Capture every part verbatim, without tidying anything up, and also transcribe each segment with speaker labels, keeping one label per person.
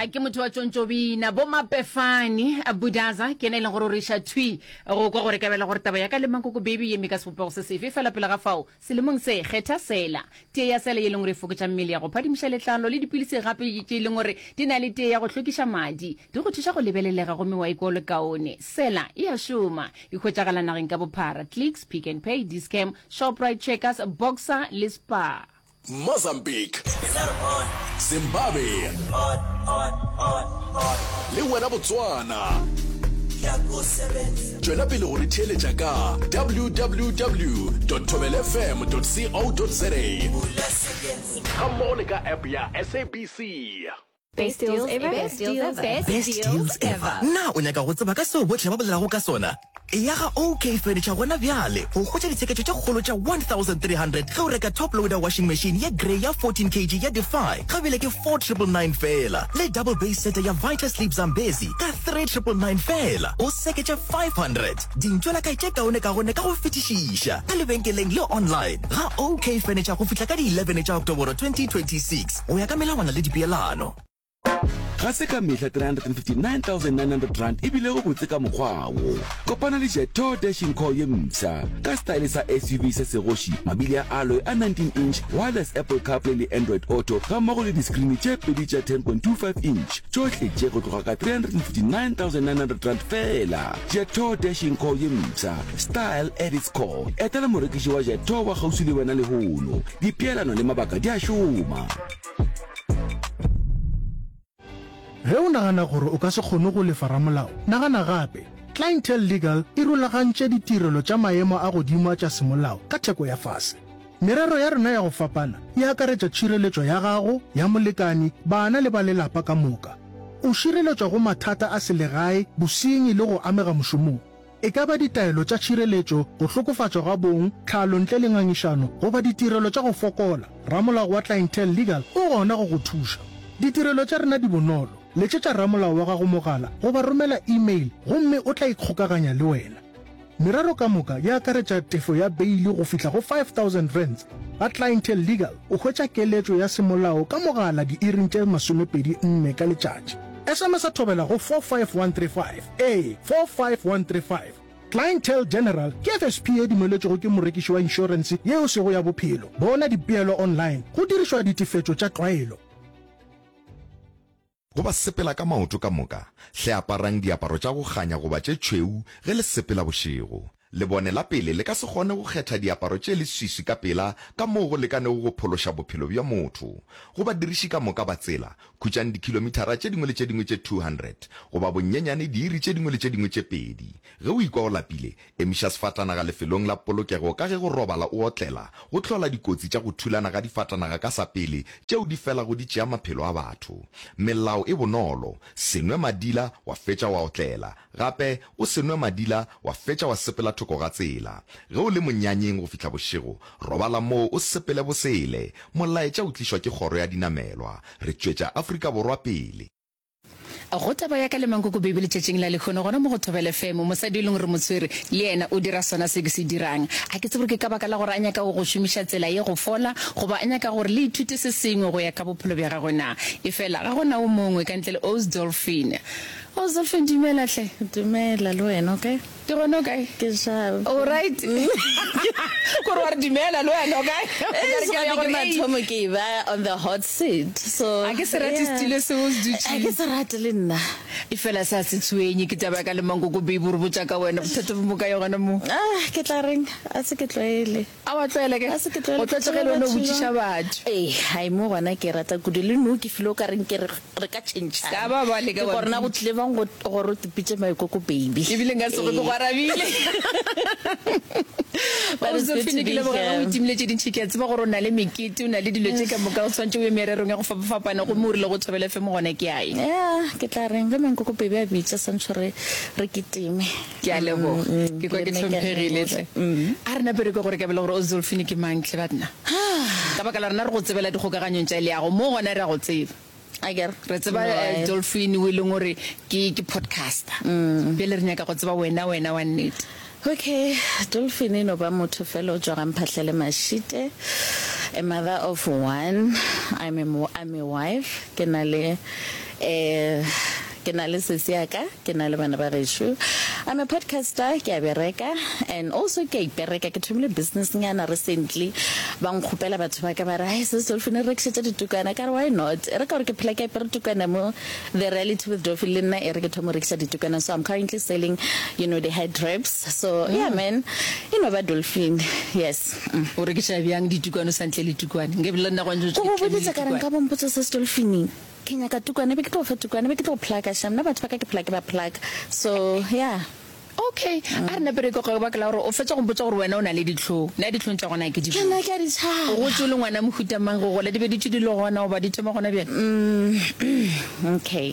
Speaker 1: A ke motho wa tšontšobina bo mapefane budaza ke ena e leng gore o re iša thwi go kwa gore ka bela gore taba ya ka le mankoko baby ye eme ka sebopego se sefe fela pele ga fao selemong se kgetha sela tee ya sela ye leng gore e fokotša mmele ya go phadimiša letlalo le dipilisi gape tše e leng gore di na le tee ya go hlwekiša madi di go thuša go lebelelega gomme wa ikwa o le kaone sela e a šoma e hwetšagala nageng ka bophara Clicks Pick n Pay Dis-Chem Shoprite Checkers Boxer le Spar
Speaker 2: Mozambique, Zimbabwe le wena Botswana. Tšwela pele go re theeletša ka www dot thobelfm dot co dot za gammogo le ka app ya SABC.
Speaker 3: Best deals ever. Best deals ever.
Speaker 4: Best deals ever. Na o nyaka go tseba ka seo bohle ba bolelago ka sona? Eya ga OK Furniture gona bjale go hwetša ditsheketšo tše kgolo tša one thousand three hundred ge o reka top loader washing machine ye grey ya fourteen kg ya Defy ga bjale ke four triple nine feela le double base seta ya Vita Sleep Zambezi ka three triple nine feela o seketše five hundred. Dintšwelakae tše kaonekaone ka go fetišiša ka lebenkeleng le online ga OK Furniture go fihla ka di eleven tša Oktoboro twenty twenty six go ya ka melawana le dipeelano.
Speaker 5: Ga se ka mehla three hundred and fifty nine thousand nine hundred rand e bilego botse ka mokgwa wo. Kopana le Jetour Dashing Core ye mpsha ka setaele sa S U V se segoši, mabili a alloy a nineteen inch, wireless Apple CarPlay le Android Auto gammogo le diskrini tše pedi tša ten point two five inch, tšohle tše go tloga ka three hundred and fifty nine thousand nine hundred rand feela. Jetour Dashing Core ye mpsha, style at its core. Etela morekiši wa Jetour wa kgauswi le wena lehono. Dipeelano le mabaka di a šoma.
Speaker 6: Ge o nagana gore o ka se kgone go lefa ramolao, nagana gape. Clientele Legal e rulagantše ditirelo tša maemo a godimo a tša semolao ka theko ya fase. Merero ya rena ya go fapana e akaretša tšhireletšo ya gago, ya molekani, bana le ba lelapa ka moka. O šireletšwa go mathata a selegae, bosenyi le go amega mošomong. E ka ba ditaelo tša tšhireletšo, go hlokofatšwa ga bong, tlhalo ntle le ngangišano, goba ditirelo tša go fokola, ramolao wa Clientele Legal o gona go go thuša. Ditirelo tša rena di bonolo. Letšetša ramolao wa gago mogala goba romela e-mail gomme o tla ikgokaganya le wena. Merero ka moka e akaretša tefo ya beili go fihla go five thousand rands. Ga Clientele Legal o hwetša keletšo ya semolao ka mogala diiring tše masomepedi nne ka letšatši. S M S a thobela go four five one three five, ee, four five one three five. Clientele General ke F S P ye dumeletšwego ke morekiši wa inšorense ye e sego ya bophelo. Bona dipeelo online go dirišwa ditefetšo tša tlwaelo.
Speaker 7: Go ba sepela ka maoto ka moka, hle aparang diaparo tša go kganya goba tše tšhweu ge le sepela bošego. Lebone la pele le ka se kgone go kgetha diaparo tše leswiswi ka pela ka moo go lekanego go phološa bophelo bja motho. Go badiriši ka moka ba tsela, khutšang dikhilomithara tše dingwe le tše dingwe tše two hundred goba bonyenyane diiri tše dingwe le tše dingwe tše pedi. Ge o ikwa o lapile, emiša sefatanaga lefelong la polokego ka ge go robala o otlela go hlola dikotsi tša go thulana ga difatanaga ka sa pele tšeo di felago di tšea maphelo a batho. Melao e bonolo, se nwe madila wa fetša wa otlela. Gape, o se nwe madila wa fetša wa sepela thoko ga tsela. Ge o le monyanyeng go fihla bošego, robala moo o sepele bosele. Molaetša o tlišwa ke Kgoro ya Dinamelwa. Re tšwetša Afrika Borwa pele.
Speaker 1: Go taba ya ka le Mankoko Baby letšatšing la lehono, gona mo go Thobela F M, mosadi yo e leng gore mo tshwere, le yena o dira sona se ke se dirang. A ke tsebe gore ke ka baka la gore a nyaka go šomiša tsela ye go fola, goba a nyaka gore le ithute se sengwe go ya ka bophelo bja gagwe na. Efela ga go na o mongwe ka ntle le Ous Dolphin. Ous Dolphin, dumela hle.
Speaker 8: Dumela, le wena o kae?
Speaker 1: Ke gona, o kae?
Speaker 8: Ke sharp.
Speaker 1: O right? Kore wa re dumela le wena o kae?
Speaker 8: Eh, so gape ke mathomo ke e ba on the hot seat. So
Speaker 1: A ke se rate setilo seo o se dutšeng.
Speaker 8: A ke se rate le nna.
Speaker 1: E fela se a se tshwenye ke taba ya ka le Mankoko baby o re botša ka wena bothata bo mo kae gona mo?
Speaker 8: Ah, ke tla reng? A se ke tlwaele.
Speaker 1: A wa tlwaela ke?
Speaker 8: A se ke tlwaele.
Speaker 1: O tlwaetše ge le wena o botšiša batho.
Speaker 8: Ee, hai mo gona ke rata kudu le nou ke feel o ka reng ke re re ka tšhentšhana.
Speaker 1: Ka ba ba leka
Speaker 8: Ke
Speaker 1: wa
Speaker 8: gore na go tlile bang go gore o tipitše maikoko baby.
Speaker 1: Ebile nka se go ke go arabile.
Speaker 8: But it's good to
Speaker 1: Josephine,
Speaker 8: be
Speaker 1: ke leboga ge o
Speaker 8: here.
Speaker 1: itimile tše dintši. Ke a tseba gore o na le mekete, o na le dilo tše ka moka, o swanetše o ye mererong ya go fapafapana gomme o rile go Thobela F M gona ke a ye.
Speaker 8: Yeah, ke tla reng ge mankoko baby a bitša santšho re re kitime.
Speaker 1: Ke a leboga.
Speaker 8: Mm,
Speaker 1: Ke kwa
Speaker 8: le
Speaker 1: ke
Speaker 8: nna ke a
Speaker 1: hlomphegile
Speaker 8: leboga.
Speaker 1: hle. A re nape re kwe gore ka bele gore o Zulfini ke mang hle banna. Ka baka la rena re go tsebela dikgokaganyong tša leago, mo gona re a go tseba.
Speaker 8: Akere?
Speaker 1: Re tseba
Speaker 8: No,
Speaker 1: eh,
Speaker 8: ae.
Speaker 1: Dolphin o e leng gore ke ke podcaster. Bjale re nyaka go tseba wena wena wa nnete.
Speaker 8: Okay, Dolphin e no ba motho fela o tšwa ga Mphahlele Mashite. a mother of one. I'm a, I'm a wife. Ke na le eh ke na le sesi ya ka, ke na le bana ba gešo. I'm a podcaster, ke a bereka and also ke a ipereka. Ke thomile business nyana recently. Ba nkgopela batho ba ka ba re, "Ai sis Dolphin re rekišetša ditukwana." Ka re why not? E re ka gore ke phela ke apere tukwana mo The Reality with Dolphin le nna e re ke thoma go rekiša ditukwana. So I'm currently selling, you know, the head wraps. So yeah man, e no ba Dolphin. Yes. Mm.
Speaker 1: O rekiša bjang ditukwane o sa ntle le tukwane? Nke le nna gwa ntse
Speaker 8: Ko go boditse ka re nka bompotsa sis Dolphin. Ke nyaka tukwane, be ke tlo fa tukwane, be ke tlo plug-a sham. Nna batho ba ka ke phela ke ba plug. So yeah.
Speaker 1: Okay, a re nape re ko ka baka la gore o fetša go mpotša gore wena o na le dihlong. Nna dihlong tša gona ke di
Speaker 8: Ke nna ke a di tšhaba.
Speaker 1: O gotše o le ngwana mohuta mang go gola? Di be di tše di le gona goba di thoma gona bjale?
Speaker 8: Mm, okay.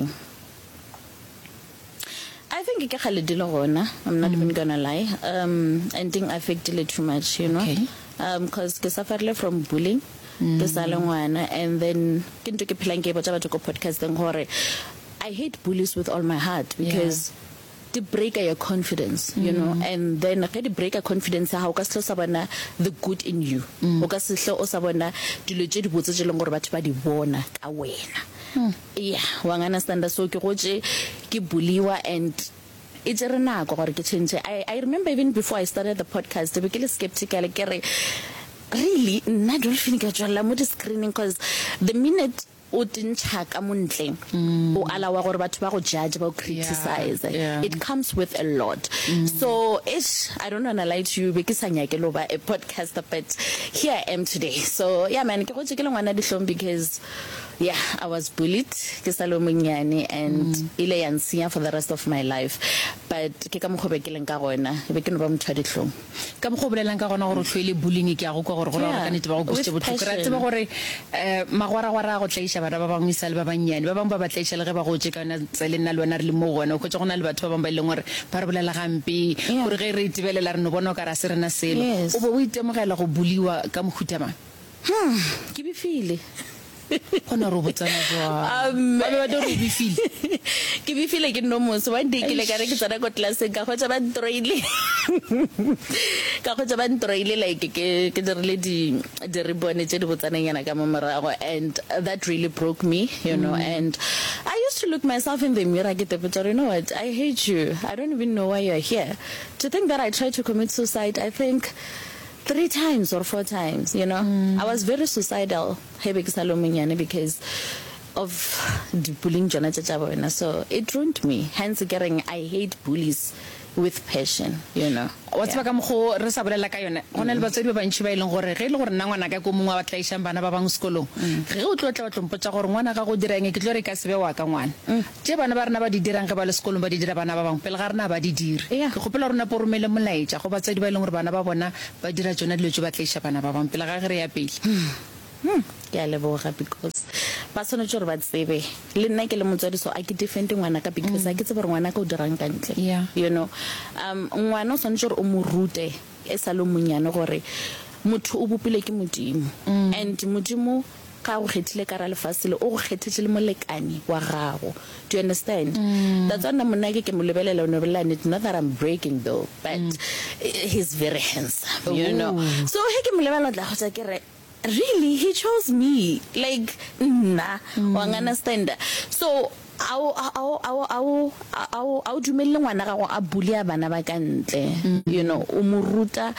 Speaker 8: I think ke kgale di le gona. I'm not even gonna lie. Um, and ding affectile too much, you know.
Speaker 1: Okay.
Speaker 8: Um, cause ke sufferile from bullying. Ke sa le ngwana and then ke ntho ke phelang ke e botša batho ko podcasteng gore I hate bullies with all my heart because di breaker your confidence, you know, and then ge di breaker confidence ya gago o ka se hlo sa bona the good in you. O ka se hlo o sa bona dilo tše dibotse tše leng gore batho ba di bona ka wena. Yeah, wa understand. So ke gotše ke bulliwa and e tšere nako gore ke change. I, I remember even before I started the podcast be ke le skeptical ke re really nna Dolphin ke tšwelela mo di-screening cause the minute o tentšha ka mo ntle o alawa gore batho ba go judge ba go criticize
Speaker 1: yeah.
Speaker 8: It comes with a lot. So ish, I don't wanna lie to you, be ke sa nyake lo ba a podcaster, but here I am today. So yeah man, ke gotše ke le ngwana dihlong because yeah, I was bullied ke sa le monnyane and ile ya nsenya for the rest of my life, but ke ka mokgwa be ke leng ka gona, be ke no ba motho wa dihlong.
Speaker 1: Ka mokgwa o bolelang ka gona gore o hloile bullying, ke a go kwa gore go ra gore ka nnete ba go kwešitše bohloko. Re a tseba gore um magwaragwara a go tlaiša bana ba bangwe e sa le ba bannyane, ba bangwe ba ba tlaiša le ge ba gotše ka yona tsela nna le wena re le mo gona. O hwetša go na le batho ba bangwe ba e leng gore ba re bolela gampe, gore ge re itebelela re no bona o ka re a se rena selo. O be o itemogela go buliwa ka mohuta mang?
Speaker 8: Hmm, ke befile.
Speaker 1: Gona re o botsana jwang? Ba be ba tlo re o befile.
Speaker 8: Ke befile ke nno mose. One day ke ile ka re ke tsena ko classeng ka hwetša ba ntroile. Ka hwetša ba ntroile like ke ke dirile di di ribbon tše di botsananyana ka mo morago and that really broke me, you know, and I used to look myself in the mirror ke tepotša gore you know what, I hate you. I don't even know why you're here. To think that I tried to commit suicide, I think three times or four times, you know. I was very suicidal ge be ke sa le monnyane because of di-bullying tšona tše tša bona. So it ruined me. Hence ke reng I hate bullies with passion, you know.
Speaker 1: Wa tseba ka mokgo re sa bolela ka yona, go na le batswadi ba bantši ba e leng gore ge e le gore nna ngwanaka ke o mongwe wa ba tlaišang bana ba bangwe sekolong, ge o tlo tla wa tlo mpotša gore ngwana gago o dira eng, ke tlo re e ka se be wa ka ngwana. Tše bana ba rena ba di dirang ge ba le sekolong ba di dira bana ba bangwe pele ga rena ba di dire. Ke kgopela gore o nape o romele molaetša go batswadi ba e leng gore bana ba bona ba dira tšona dilo tše ba tlaiša bana ba bangwe pele ga ge re ya pele.
Speaker 8: Hmm, ke a leboga because ba swanetše gore ba tsebe le nna ke le motswadi, so a ke defende ngwanaka because a ke tsebe gore ngwanaka o dirang ka ntle, you know. Um ngwana o swanetše gore o mo rute e sa le monnyane gore motho o bopilwe ke Modimo, and Modimo ga go kgethile ka ra lefase le o go kgethetše le molekane wa gago. Do you understand? That's why nna monna ke ke mo lebelela o no bolela nnete, not that I'm breaking though, but he's very handsome, you know. So he ke mo lebelela o tla kgotsa ke re really he chose me, like nna, wa understand? So ao ao ao ao ao ao dumelle ngwana gago a bulea bana ba ka ntle, you know. O mo ruta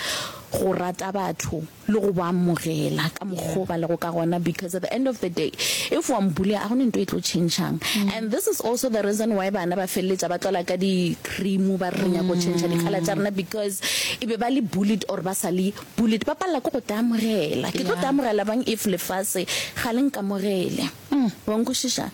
Speaker 8: go rata batho le go ba amogela ka mokgwa ba lego ka gona, because at the end of the day if wa mbulea a gona ntho e tlo changeng. And this is also the reason why bana ba feleletša ba tlola ka di cream ba re re nyaka go change di-colour tša rena, because e be ba le bullied or ba sa le bullied, ba palela ke go te amogela. Ke tlo te amogela bang if lefase ga le nkamogele? Wa nkwešiša?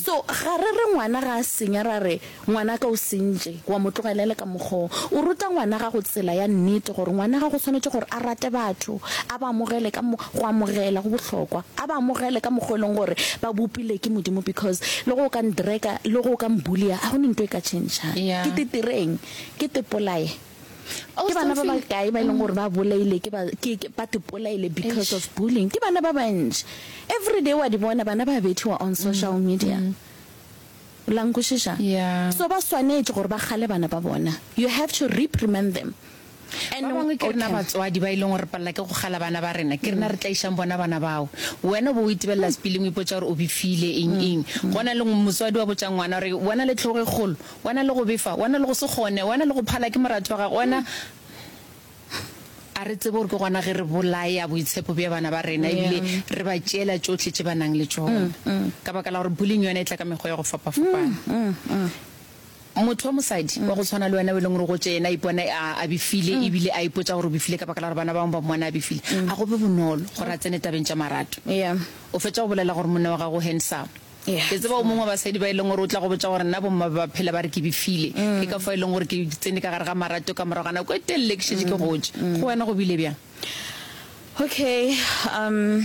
Speaker 8: So ga re re ngwana ga a senya ra re ngwana ka o sentše, wa mo tlogelela ka mokgwa o ruta ngwana gago tsela ya nnete gore ngwana gago swanetše gore a rate batho, a ba amogele ka mo go amogela go bohlokwa, a ba amogele ka mokgwa e leng gore ba bopile ke Modimo, because le go ka ndreka le go ka mbulia a gone ntho e ka changeng. Ke tetireng ke tepolae ke bana ba bakae ba e leng gore ba bolaile ke ba ke ba tepolaile because of bullying? Ke bana ba bantši, every day wa di bona bana ba bethiwa on social media. La nkwešiša? So ba swanetše gore ba kgale bana ba bona. You have to reprimand them. And
Speaker 1: Ba bangwe ke rena
Speaker 8: okay.
Speaker 1: batswadi ba e leng gore re palela ke go kgala bana ba rena, ke rena re tlaišang bona bana bao. Wena o bo o itebelela sepileng o ipotša gore o befile eng eng. Go na le motswadi wa botša ngwana gore wena le hlogo e kgolo, wena le go befa, wena le go se kgone, wena le go phala ke moratho wa gago, wena A re tsebe gore ke gona ge re bolaya boitshepo bja bana ba rena ebile re ba tšeela tšohle tše ba nang le tšona. Ka baka la gore bullying yona e tla ka mekgwa ya go fapafapana. Motho wa mosadi wa go tshwana le wena o e leng gore o gotše yena a ipona a, a befile ebile a ipotša gore o befile ka baka la gore bana ba bangwe ba mmona a befile, a go be bonolo gore a tsene tabeng tša marato. O fetša go bolela gore monna wa gago o handsome. Ke tseba o mongwe wa basadi ba e leng gore o tla go botša gore nna bomma ba ba phela ba re ke befile, ke ka fao e leng gore ke tsene ka gare ga marato ka morago ga nako e telele ke šetše ke gotše. Go wena go bile bjang?
Speaker 8: Okay, um,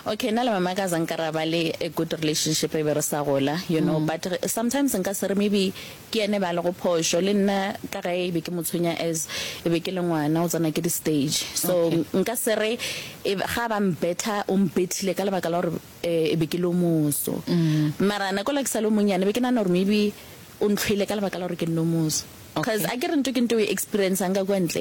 Speaker 8: okay, nna le mama ka za nka ra ba le a good relationship e be re sa gola, you know, but sometimes nka se re maybe ke yena e ba lego phošo, le nna ka ge e be ke mo tshwenya as e be ke le ngwana o tsena ke di stage, so nka se re ga ba mbetha o mbethile ka lebaka la gore e be ke le o moso. Mara nako la ke sa le o monnyane be ke nagana gore maybe o ntlhoile ka lebaka la gore ke nne o moso. Cause a ke re nto ke nto o e experiencang ka kwa ntle.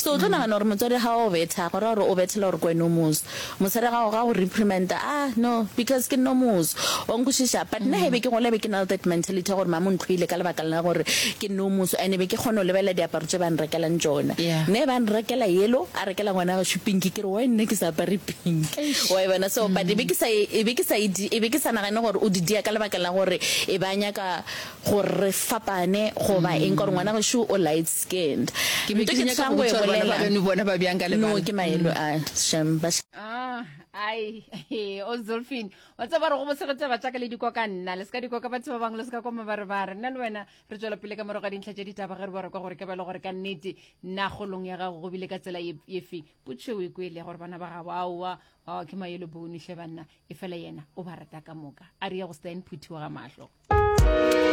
Speaker 8: So o tlo nagana gore motswadi ga o betha go ra gore o bethela gore ke wena o moso. Mosadi ga ga o reprimanda ah no because ke nne o moso. Wa nkwešiša? But nna he be ke gola be ke na le that mentality ya gore mama o ntlhoile ka lebaka la gore ke nne o moso and be ke kgona go lebelela diaparo tše ba nrekelang tšona. Nna ba nrekela yellow a rekela ngwana gešo pink ke re why nna ke sa apare pink. Wa e bona? So but e be ke sa e be ke sa e e be ke sa nagane gore o di dia ka lebaka la gore e ba nyaka gore re fapane goba eng ka gore ngwana gešo o light skinned.
Speaker 1: Ke be
Speaker 8: Nto
Speaker 1: ke
Speaker 8: ke
Speaker 1: nyaka
Speaker 8: tshang
Speaker 1: go
Speaker 8: go e
Speaker 1: botša gore bana ba
Speaker 8: bolela
Speaker 1: beno bona ba bjang ka
Speaker 8: no
Speaker 1: lebala.
Speaker 8: ke maelo a shem ba
Speaker 1: Ah, ai, o Zulfin, wa tseba re go bose go taba tša ka le dikwa ka nna, le se ka dikwa ka batho ba bangwe, le se ka kwa mabarebare. Nna le wena re tšwela pele ka morago ga dintlha tša ditaba ge re boa re kwa gore ke ba le gore ka nnete na kgolong ya gago go bile ka tsela ye ye feng. Potšišo o e kwele ya gore bana ba gago aowa, aowa ke mayelo bone hle banna, efela yena o ba rata ka moka. A re ye go Stan Phuthi wa ga mahlo.